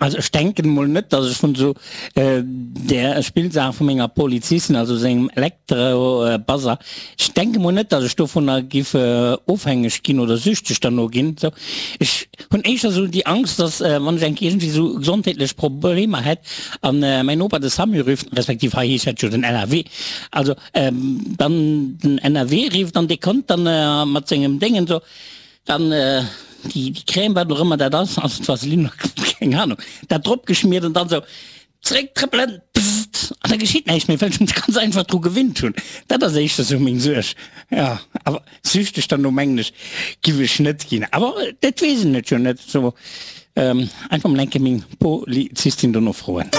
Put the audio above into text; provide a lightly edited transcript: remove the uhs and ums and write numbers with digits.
Also ech denken mol net, dass ech vun esou där Spillsaach vu menger Polizistin, also sengem Elektrobuzzer, ech denke mol net, dass ech dovunner giff ofhängeg ginn oder süchteg derno ginn. Sou, ech hunn éischter esou déi Angst, dass wann ech eng Kéier iergendwéi esou gesondheetlech Problemer hätt an mäin Noper de Samu rifft, respektiv hei heescht dat jo den NRW, also dann den NRW rifft an dee kënnt dann mat sengem Déngen esou, Dann déi Crème, wat och ëmmer dat ass, also d'Vaseline oder keng Ahnung, dat drop geschmiert an dann esou zréck trëppelen, pssst, an da geschitt näischt méi, well ech mech ganz einfach dru gewinnt hunn. Dat ass éischter esou meng Suerg, jo. Awer süchteg derno mengen ech giff ech net ginn. Awer dat weess een et jo net esou. Einfach mol eng Kéier meng Polizistin dono froen.